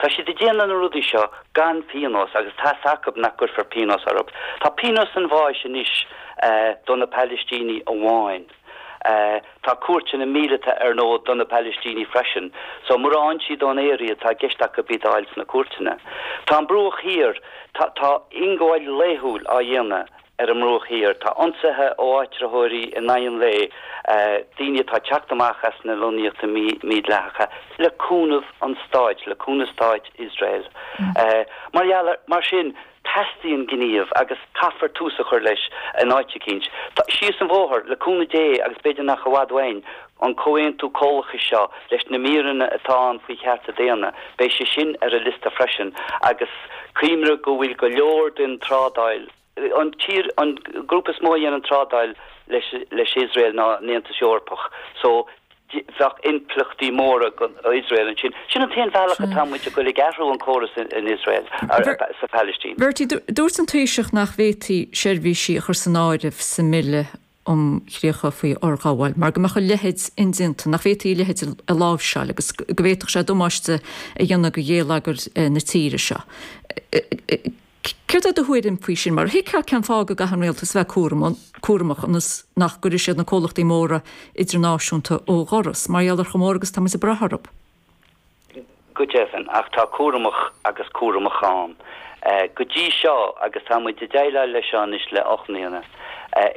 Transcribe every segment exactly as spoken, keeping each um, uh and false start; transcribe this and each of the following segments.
Tá siad ag déanamh na rudaí seo gan pionós agus tá a fhios acu nach gcuirfear pionós orthu. Tá pionós an bháis anois do na Palaistínigh amháin. Tá cúirteanna míleata ar ndóigh do na Palaistínigh freisin, so mura bhfaigheann siad ón aer iad tá i gceist acu iad a fháil sna cúirteanna. Tá an Bruach Thiar, tá tá ionghabháil laethúil á dhéanamh ar an mBruach Thiar. Tá ionsaithe ó áitritheoirí in aghaidh an lae, daoine atá ag teacht amach as na lonnaíochtaí mídhleathacha le cúnamh an stáit, le cúnamh stát Iosrael. Mar gheall ar, mar sin, teastaíonn gníomh agus caithfear tús a chur leis in áit eicínt. Síos an bhóthar, le cúnamh Dé agus b'fhéidir nach i bhfad uainn, an comhaontú comhlachais seo leis na míreanna atá ann faoi chearta daonna, beidh sé sin ar an liosta freisin agus cuimhnigh go bhfuil go leor den trádáil, an tír, an grúpa is mó a dhéanann trádáil leis leis Iosrael ná an Aontas Eorpach so bheadh impleachtaí móra do Iosrael ansin. Sin an t-aon bhealach atá muid ag goil ag athrú an córas in Iosrael, sa Phalaistín. Bertie, dúirt an Taoiseach nach bhféadfaí seirbhísí a chur san áireamh sa mBille um Chríocha faoi Fhorghabháil mar go mbeadh a leithéid indéanta, nach bhféadfaí a leithéid a láimhseáil agus go bhféadfadh sé damáiste a dhéanamh do gheilleagar na tíre seo. Céard é do thuairim faoi sin? Mar thuigfeá cén fáth go gcaithfidh an rialtas a bheith cúramach ionas nach gcuirfidh siad na comhlachtaí móra idirnáisiúnta ó dhoras, mar gheall ar chomh mór agus tá muid ag brath orthu. Go deimhin, ach tá cúramach agus cúramach ann. Go dtí seo, agus tá muid ag déileáil leis seo anois le ocht mbliana,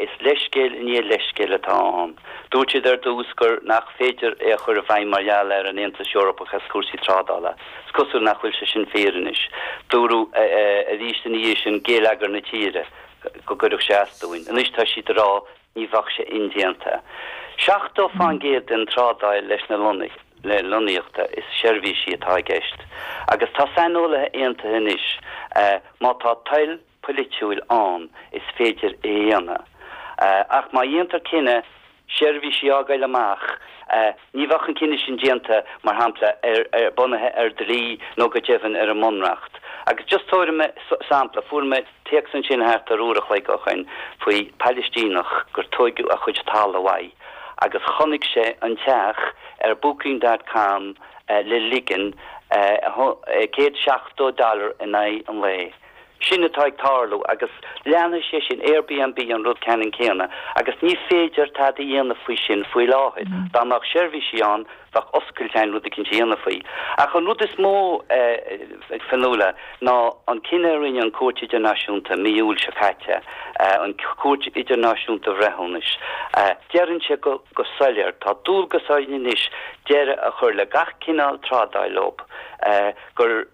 is leithscéal i ndiaidh leithscéil atá ann. Dúirt siad ar dtús gur nach féidir é a chur i bhfeidhm mar gheall ar an Aontas Eorpach agus cúrsaí trádála. Is cosúil nach bhfuil sé sin fíor anois. Dúradh arís ina dhiaidh sin geilleagar na tíre, go gcuirfeadh sé as dúinn. Anois tá siad ag rá ní bheadh sé indéanta. Seachtó fán gcéad den trádáil leis na le lonnaíochta is seirbhísí atá i gceist. Agus tá saineolaithe aontaithe anois má tá toil polaitiúil ann is féidir é a dhéanamh. Ach má dhéantar cinneadh seirbhísí a fhágáil amach, ní bheadh an cinneadh sin déanta, mar shampla, ar bunaithe ar dlí nó go deimhin ar an mbunreacht. Agus just tabharfaidh mé sampla, fuair mé téacs ansin thart ar uair a chloig ó shoin faoi Palaistíneach gur tóigeadh a chuid talamh uaidh agus chonaic sé an teach ar booking dot com le ligean céad seachtó dollar in aghaidh an lae. Sin atá ag tarlú agus leanfaidh sé sin, Airbnb an rud ceannann céanna agus ní féidir tada a dhéanamh faoi sin faoi láthair. Dá mbeadh seirbhísí ann, bheadh oscailt ann rud eicínt a dhéanamh faoi. Ach an rud is mó, a Fionnuala, ná an cinneadh a rinne an Chúirt Idirnáisiúnta mí Iúil seo caite, an Chúirt Idirnáisiúnta Bhreithiúnais. Deireann sé go soiléir, tá dualgas orainn anois deireadh a chur le gach cineál trádáil leo. gur,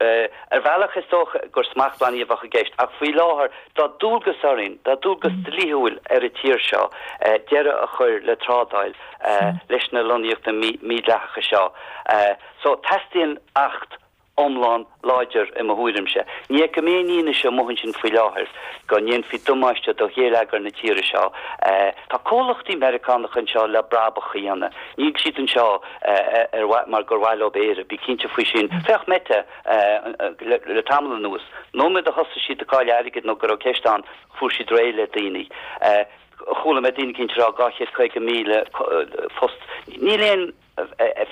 ar bhealach is dócha gur smachtbhannaí a bheadh i gceist, ach faoi láthair tá dualgas orainn, tá dualgas dlíthiúil ar an tír seo deireadh a chur le trádáil leis na lonnaíochtaí mídhleathacha seo. So teastaíonn acht iomlán láidir i mo thuairimse. Ní fheicim aon fhianaise amuigh ansin faoi láthair go ndéanfaí damáiste do gheilleagar na tíre seo. Tá comhlachtaí Meiriceánacha anseo le brabach a dhéanamh. Níl siad anseo ar mhaith mar gur mhaith leo Éire, bí cinnte faoi sin. Féach Meta le tamall anuas. Nóiméad a thosaigh siad ag cailleadh airgid nó go raibh ceist ann, fuair siad réidh le daoine. Chuala mé daoine eicínt ag rá dhá chéad caoga míle post. Níl aon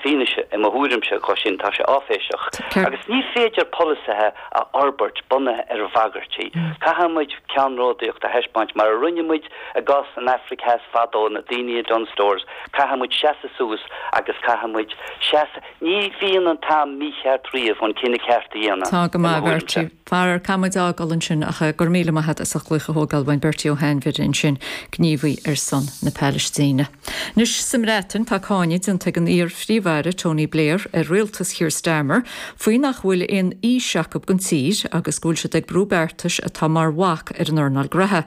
fianaise i mo thuairimse dho sin, tá sé áiféiseach. Agus ní féidir polasaithe a fhorbairt bunaithe ar bhagairtí. Caithfidh muid ceannródaíocht a thaispeáint mar a rinne muid i gcás an Afraic Theas fadó, na daoine i Dunnes Stores, caithfidh muid seasamh suas agus caithfidh muid seasamh, ní bhíonn an t-am mícheart riamh an cinneadh ceart a dhéanamh, Tá go i mo maith, thuairimse. Bertie. Faraor, caithfidh muid fhágáil ansin ach go raibh míle maith agat as ucht glaoch a thógáil uainn, Bertie Ó hAinmhire ansin, gníomhaí ar son na Palaistíne. Anois sa mBreatain tá cáineadh déanta ag an iar-Phríomh-Aire Tony Blair ar rialtas Keir Starmer faoi nach bhfuil aon fhís acu don tír agus go bhfuil siad ag brú beartais atá mar bhac ar an earnáil gnótha.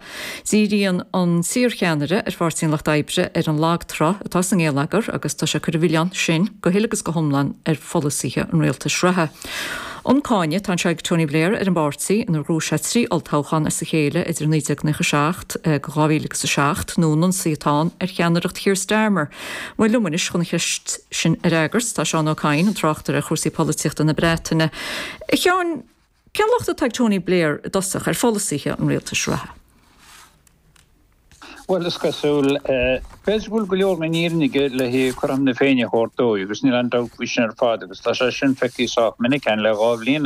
Díríonn an t-iarcheannaire ar Pháirtí an Lucht Oibre ar an lagtrá atá sa ngeilleagar agus tá sé ag cur an mhilleáin sin go huile agus go hiomlán ar pholasaithe an rialtais reatha. An cáineadh atá anseo ag Tony Blair ar an bpáirtí inar ghnóthaigh sé trí olltoghchán as a chéile idir naoi déag naocha seacht go dhá mhíle agus a seacht nó an ionsaí atá ann ar cheannaireacht Keir Starmer. Bhuel liom anois chun an cheist sin a fhreagairt tá Seán Ó Cadhain, an tráchtaire ar chúrsaí polaitíochta na Breataine. A Sheáin, cén locht atá ag Tony Blair i dtosach ar pholasaithe an rialtais reatha? Well is cosúil b'fhéidir go bhfuil go leor den fhírinne aige le cothrom na Féinne a thabhairt dó agus níl aon dabht faoi sin ar fad agus tá sé sin feicthe sách minic againn le dhá bhliain